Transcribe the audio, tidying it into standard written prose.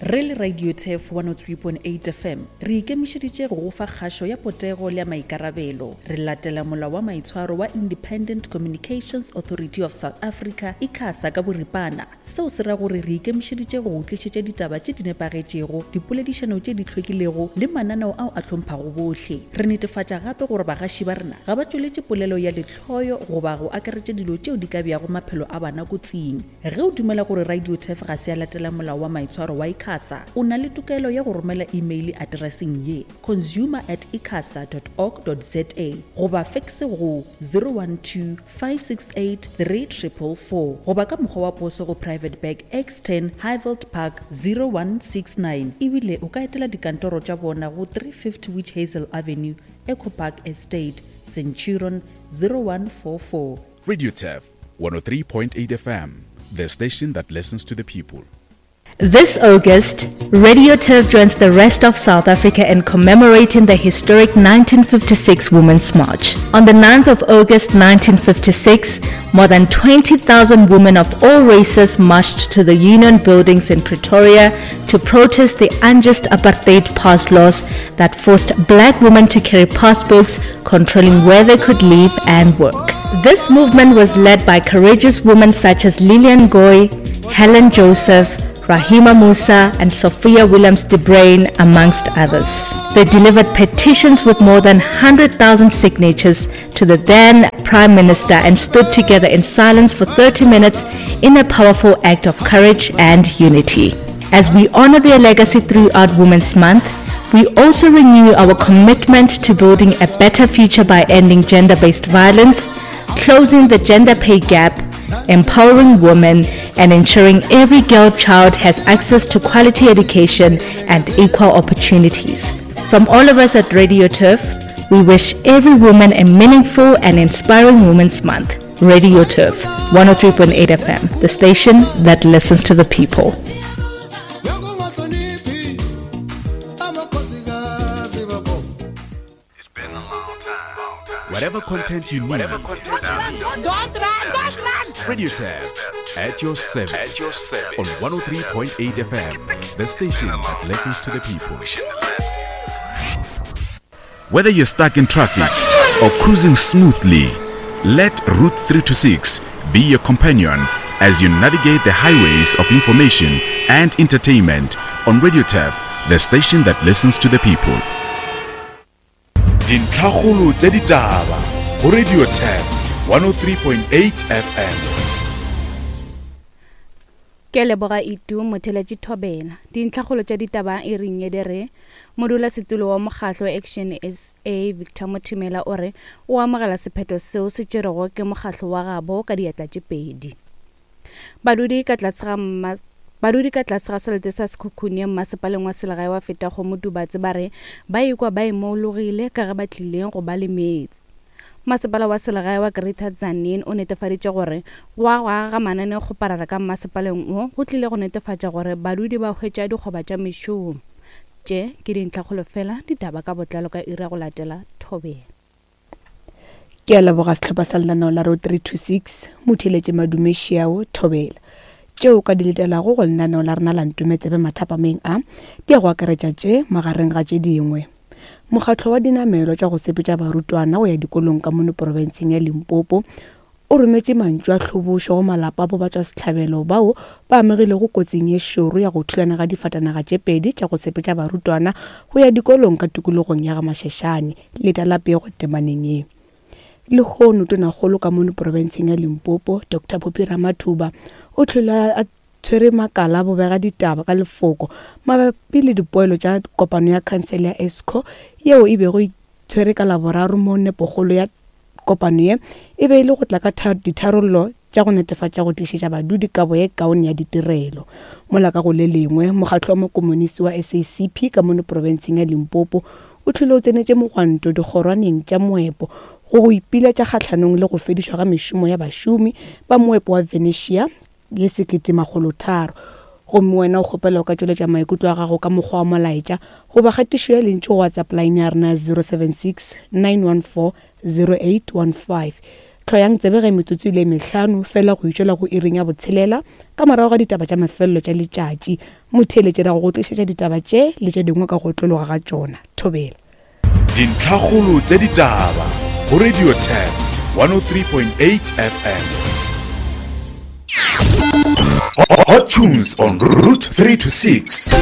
Re le Radio Turf 103.8 FM, re ikemišeditše go go fa kgašo ya potego le ya maikarabelo. Re latela molao wa maitshwaro wa Independent Communications Authority of South Africa, ICASA, ka boripana. Seo se ra gore re ikemišeditše go go tlišetša ditaba tše di nepagetšego, dipoledišano tše di hlwekilego le mananeo ao a hlomphago bohle. Re netefatša gape gore bagaši ba rena ga ba tšweletše polelo ya lehloyo goba go akaretša dilo tšeo di ka beago maphelo a bana kotsing. Ge o dumela gore Radio Turf ga se ya latela molao wa maitshwaro wa ICASA, o na le tokelo ya go romela imeile atereseng ye, consumer at icasa dot org dot za goba fekse go 012 568 3444 goba ka mokgwa wa poso go Private Bag X10 Highveld Park 0169 ebile o ka etela dikantoro tša bona go 350 Witch Hazel Avenue, Echo Park Estate, Centurion 0144. Radio Turf 103.8 FM, the station that listens to the people. This August, Radio Turf joins the rest of South Africa in commemorating the historic 1956 Women's March. On the 9th of August 1956, more than 20,000 women of all races marched to the Union buildings in Pretoria to protest the unjust apartheid pass laws that forced black women to carry passbooks controlling where they could live and work. This movement was led by courageous women such as Lillian Goy, Helen Joseph, Rahima Moosa, and Sophia Williams de Bruyn, amongst others. They delivered petitions with more than 100,000 signatures to the then Prime Minister and stood together in silence for 30 minutes in a powerful act of courage and unity. As we honor their legacy throughout Women's Month, we also renew our commitment to building a better future by ending gender based violence, closing the gender pay gap, empowering women, and ensuring every girl child has access to quality education and equal opportunities. From all of us at Radio Turf, we wish every woman a meaningful and inspiring Women's Month. Radio Turf, 103.8 FM, the station that listens to the people. Whatever content you need. Don't run, don't run! Radio Turf at your service. At your service. On 103.8 FM, the station that listens to the people. Whether you're stuck in traffic or cruising smoothly, let Route 326 be your companion as you navigate the highways of information and entertainment on Radio Turf, the station that listens to the people. Dintlhakgolo tša ditaba go Radio Turf 103.8 FM. Ke leboga Itu Motheletši Thobela. Dintlhakgolo tša ditaba e reng ye di re, Modulasetulo wa mokgahlo Action SA Victor Mothimela o re o amogela sephetho seo se tšerwego ke mokgahlo wa gabo ka diatla tše pedi. Badudi ka tlase ga Badudi ka tlase ga selete sa Sekhukhune mmasepaleng wa selegae wa Fetakgomo Tubatse ba re ba ikwa ba imologile ka ge ba tlile go ba le meetse. Masepala wa selegae wa Greater Tzaneen o netefaditše gore go agwa ga mananeokgoparara ka mmasepaleng wo go tlile go netefatša gore badudi ba hwetša dikgoba tša mešomo. Tše ke dintlhakgolo fela ditaba ka botlalo ka iri ya go latela Thobela. Ke a leboga sehlopha sa lenaneo la Road 326, Motheeletše Madume Šiao, Thobela. Tšeo o ka di letelago go lenaneo la rena la Ntume Tsebe mathapameng a, di ya go akaretša tše, magareng ga tše dingwe. Mokgatlo wa dinamelwa tša go sepetša barutwana go ya dikolong ka mono porofenseng ya Limpopo o rometše mantšu a tlhobošo go malapa a bobatšwasehlabelo bao ba amegilego kotsing ye šoro ya go thulana ga difatanaga tše pedi tša go sepetša barutwana go ya dikolong ka tikologong ya GaMashashane, leta la pego temaneng ye. Lehono Tonakgolo ka mono porofenseng ya Limpopo, Doctor Phophi Ramathuba, o hlwele a tshwere makala a bobega ditaba ka lefoko mabapi le dipoelo tša kopano ya khansele ya Esco yeo e bego e tshwere ka Laboraro mo nepokgolo ya Kopano ye e be e le go tla ka ditharollo tša go netefatša go tlišetša badudi kabo ye kaone ya ditirelo. Mola ka go le lengwe, mokgatlo wa makomonisi wa SACP ka mono profenseng ya Limpopo o hlwele o tsenetše mogwanto dikgorwaneng tša moepo go go ipiletša kgahlanong le go fedišwa ga mešomo ya bašomi ba moepo wa Venetia ye 1300. Gomme wena o kgopela o ka tšweletša maikutlo a gago ka mokgwa wa molaetša goba kgatišo ya lentšu go WhatsApp line ya rena 076 914 0815. Hloyang tsebe ge metsotso e le mehlano fela go itšwela go iring ya botshelela ka morago ga ditaba tša mafelelo tša letšatši. Motheeletši ra go go tlišetša ditaba tše le tše dingwe ka go otlologa ga tšona. Thobela. Dintlhakgolo tša ditaba go Radio Turf 103.8 FM. Hot tunes on Route 3 to 6.